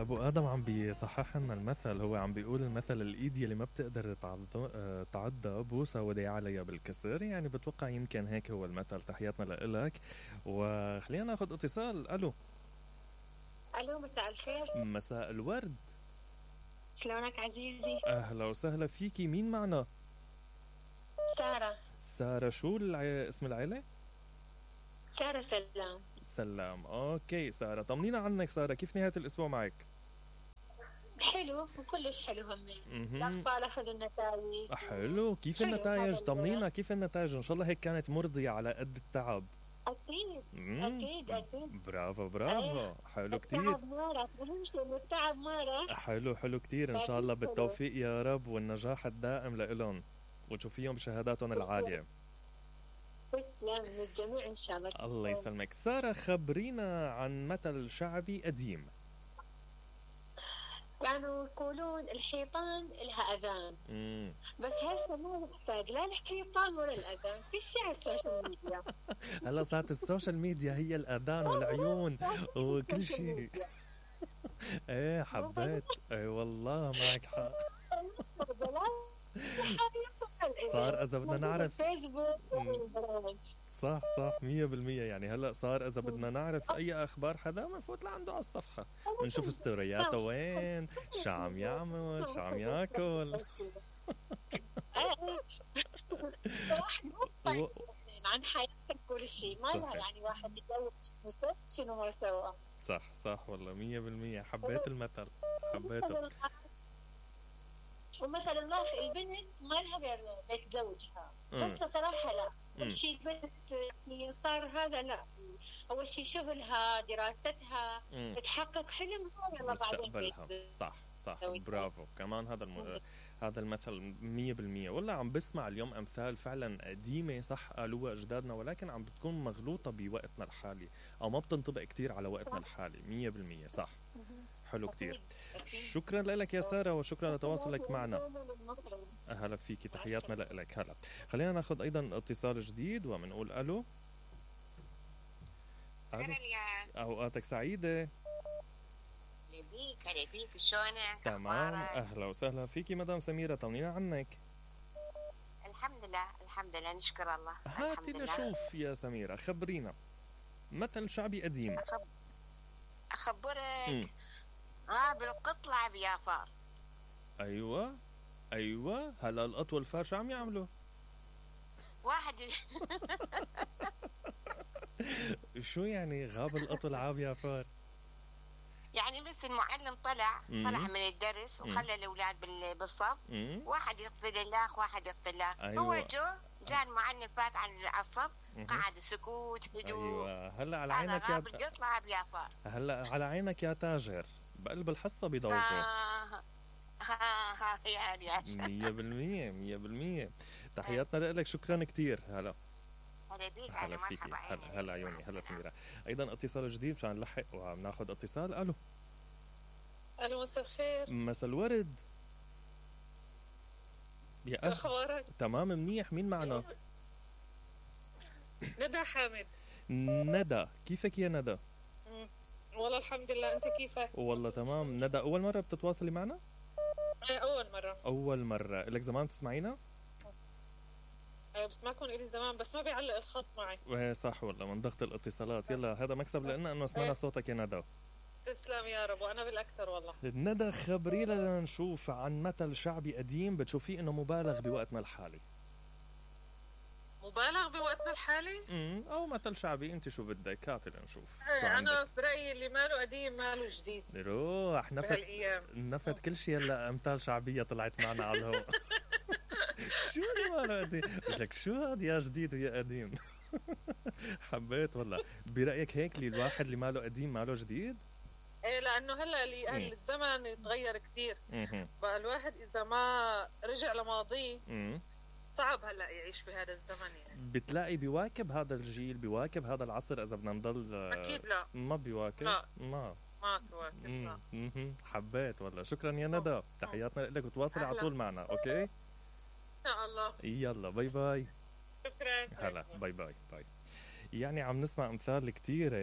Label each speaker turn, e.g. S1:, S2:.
S1: ابو ادم عم بيصحح لنا المثل. هو عم بيقول المثل الايد يلي ما بتقدر تعضها بوسه ودي عليها بالكسر. يعني بتوقع يمكن هيك هو المثل. تحياتنا لإلك وخلينا ناخذ اتصال. الو
S2: مساء الخير.
S1: مساء الورد.
S2: شلونك عزيزي؟
S1: اهلا وسهلا فيكي. مين معنا؟ سارة. شو اسم العيلة؟
S2: سارة سلام.
S1: اوكي سارة، طمنينا عنك سارة. كيف نهاية الاسبوع معك؟
S2: حلو وكلش حلو همين. الاطفال اخذوا النتائج.
S1: حلو. كيف النتائج؟ طمنينا كيف النتائج. ان شاء الله هيك كانت مرضية على قد التعب.
S2: اكيد.
S1: برافو. حلو كتير.
S2: التعب مرة. اهم شيء انه التعب مرة.
S1: حلو كتير. ان شاء الله بالتوفيق يا رب والنجاح الدائم لإلهم وتشوفيهم بشهاداتهم العالية.
S2: تسلم للجميع ان شاء الله.
S1: الله يسلمك. سارة، خبرينا عن مثل شعبي قديم.
S2: كانوا يقولون الحيطان لها اذان. بس هسه ما نحتاج لا الحيطان ولا الاذان. في الشعر السوشيال ميديا.
S1: هلا صارت السوشيال ميديا هي الاذان والعيون وكل شيء. ايه حبيت. اي والله معك حق. صار اذا بدنا نعرف صح 100%. يعني هلا صار اذا بدنا نعرف اي اخبار حدا بنفوت لعنده على الصفحه بنشوف ستورياته وين، شو عم يعمل، شو عم ياكل.
S2: عن حياتك كل شيء. ما لها يعني واحد يتزوج شنو ما سوى.
S1: صح والله 100%. حبيت المثل، حبيته.
S2: ومثلا البنت ما لها غير بيت زوجها. بس صراحة لا، كل شيء البنت صار هذا لا. أول شيء شغلها، دراستها، تحقق حلمها يلا بعدين
S1: صح. برافو. كمان هذا المثل 100%. والله عم بسمع اليوم أمثال فعلا قديمة صح قالوها أجدادنا، ولكن عم بتكون مغلوطة بوقتنا الحالي أو ما بتنطبق كتير على وقتنا الحالي. 100% صح. حلو كتير. شكرا لك يا سارة وشكرا لتواصلك معنا. أهلا فيكي. تحياتنا لك. هلا خلينا ناخذ أيضا اتصال جديد ومنقول ألو. أوقاتك سعيدة.
S2: هلا بيك شلونك؟
S1: تمام. أهلا وسهلا فيكي مدام سميرة. طمنينا عنك.
S2: الحمد لله نشكر الله.
S1: هاتي نشوف يا سميرة، خبرينا مثل شعبي قديم.
S2: أخبرك. بالقط لعب يا فار.
S1: أيوة. هلا القط والفار شو عم يعملوا؟
S2: واحد
S1: شو يعني غاب القط ولعب يا فار؟
S2: يعني بس المعلم طلع من الدرس وخلى الأولاد بالصف. واحد يغفر الله واحد يغفر الله.
S1: أيوة.
S2: هو جاء المعلم فات على الصف. قعد سكوت هدوء.
S1: أيوة. هلا على عينك هلا على عينك يا تاجر. بقلب الحصة بيضوجوا. 100%. تحياتنا لك. شكرا كتير. هلا فيكي. هلا عيوني. هلا سميرة. ايضا اتصال جديد مشان نلحق وعم ناخذ اتصال. الو
S2: مساء الخير.
S1: مساء الورد.
S2: شو اخبارك؟
S1: تمام منيح. مين معنا؟
S2: ندى حامد.
S1: ندى، كيفك يا ندى؟
S2: والله الحمد لله. انت كيفك؟
S1: والله تمام. ندى، اول مرة بتتواصلي معنا؟
S2: اول
S1: مرة. لك زمان تسمعينا؟
S2: بسمعكم إلي زمان بس ما بيعلق الخط معي.
S1: صح والله من ضغط الاتصالات. يلا هذا مكسب لنا انه سمعنا صوتك يا ندى.
S2: تسلم يا رب. وانا بالاكثر والله.
S1: ندى خبرينا نشوف عن مثل شعبي قديم بتشوفيه انه مبالغ بوقتنا الحالي.
S2: مبالغ بوقتنا الحالي؟
S1: او مثل شعبي انت شو بدك. هاتي لنشوف.
S2: انا برأيي اللي ماله قديم ماله جديد.
S1: روح نفت كل شيء. هلا امثال شعبية طلعت معنا على الهواء. شو اللي ماله قديم؟ قلت لك شو هاد يا جديد ويا قديم. حبيت والله. برأيك هيك اللي الواحد اللي ماله قديم ماله جديد؟
S2: ايه لانه هلا اللي الزمن يتغير كثير. بقى الواحد اذا ما رجع لماضيه صعب هلا يعيش بهذا الزمن. يعني
S1: بتلاقي بيواكب هذا الجيل، بيواكب هذا العصر اذا بدنا نضل.
S2: اكيد لا
S1: ما بيواكب.
S2: لا
S1: ما
S2: تواكب.
S1: حبيت والله. شكرا يا ندى. تحياتنا لك وتواصلي على طول معنا. اوكي ان
S2: شاء الله.
S1: يلا باي باي.
S2: شكرا.
S1: هلا باي. يعني عم نسمع امثال كتيرة